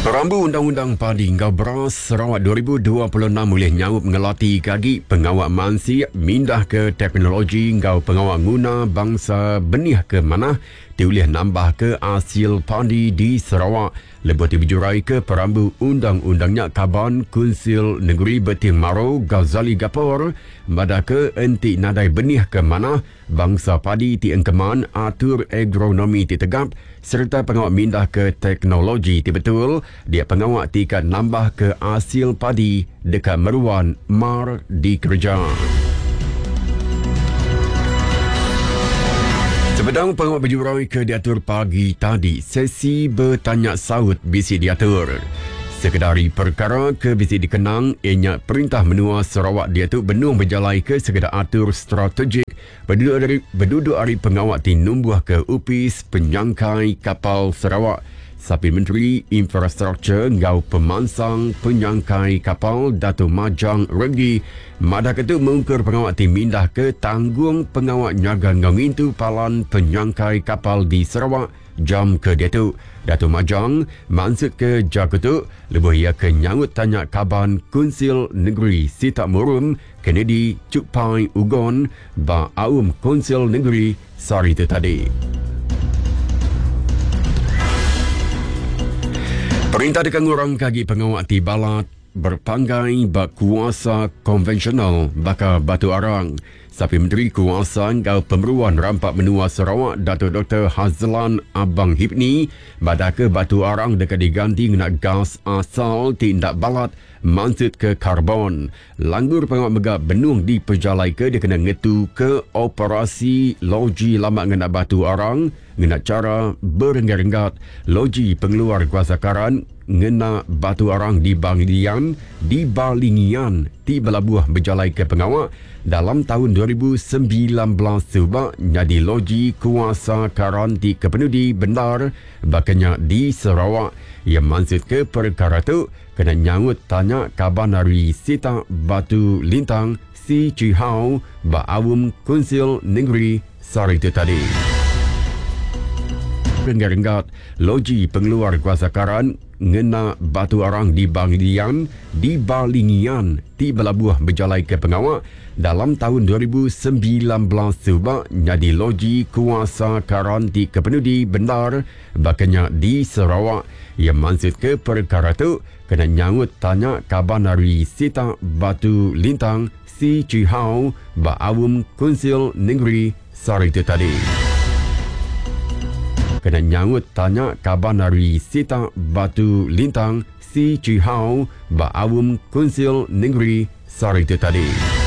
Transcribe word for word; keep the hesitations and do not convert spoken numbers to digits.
Perambu Undang-Undang Padi Enggau Beras Sarawak dua ribu dua puluh enam boleh nyaup ngelati kagi pengawak mansik mindah ke teknologi enggau pengawak nguna bangsa benih ke manah ti ulih nambah ke hasil padi di Sarawak. Lebuh ti berjurai ke perambu undang-undangnya Kaban Kunsil Negeri Beting Maro Ghazali Gapor madah ke enti nadai benih ke manah bangsa padi ti engkeman atur agronomi ti tegap serta pengawak mindah ke teknologi ti betul dia pengawak ti ka nambah ke hasil padi dekat meruan mar dikerja. Sebedang pengawak berjurai ke diatur pagi tadi, sesi bertanya saut bisi diatur. Sekedari perkara ke bisi dikenang, ianya Perintah Menua Sarawak dia tu benung berjalai ke sekedar atur strategik berduduk dari, berduduk hari pengawak ti numbuh ke Upis Penyangkai Kapal Sarawak. Sapi Menteri Infrastruktur Ngau Pemansang Penyangkai Kapal Dato' Majang Renggi madah ketu mengkur pengawak ti mindah ke tanggung pengawak nyaga ngau ngintu palan penyangkai kapal di Sarawak jam ke diatu. Dato' Majang maksud ke jaku tu lebuh ia ke nyaut tanya Kaban Kunsil Negeri Sitak Murum Kennedy Chukpai Ugon ba Aum Kunsil Negeri sehari itu tadi. Perintah dekat ngurang kagi pengawak ti balat berpanggai bak kuasa konvensional baka batu arang. Sapi Menteri Kuasa Ngau Pemeruan Rampak Menua Sarawak Dato' Doktor Hazlan Abang Hipni madah ke batu arang dekat diganti ngena gas asal tindak balat maksud ke karbon. Langgur pengawak mega benung diperjalai ke dia kena ngetu ke operasi loji lama ngena batu arang ngena cara berenggat-renggat. Loji pengeluar kuasa karan ngena batu arang di Banglian di Balingian ti belabuh berjalai ke pengawak dalam tahun dua ribu sembilan belas subak jadi loji kuasa karan ti kepenudi bendar bakanya di Sarawak. Ia maksud ke perkara tu kena nyaut tanya Kaban ari Sitak Batu Lintang Si Chi Hao ba Aum Kunsil Negeri sehari itu tadi. Renggat-renggat loji pengeluar kuasa karan ngena batu arang di Banglian di Balingian ti belabuh berjalai ke pengawak dalam tahun dua ribu sembilan belas subak jadi loji kuasa karan ti kepenudi bendar bakanya di Sarawak. Ia maksud ke perkara tu kena nyaut tanya Kaban ari Sitak Batu Lintang Si Chi Hao ba Aum Kunsil Negeri sehari itu tadi. Kena nyaut tanya Kaban ari Sitak Batu Lintang Si Chi Hao ba Aum Kunsil Negeri sehari itu tadi.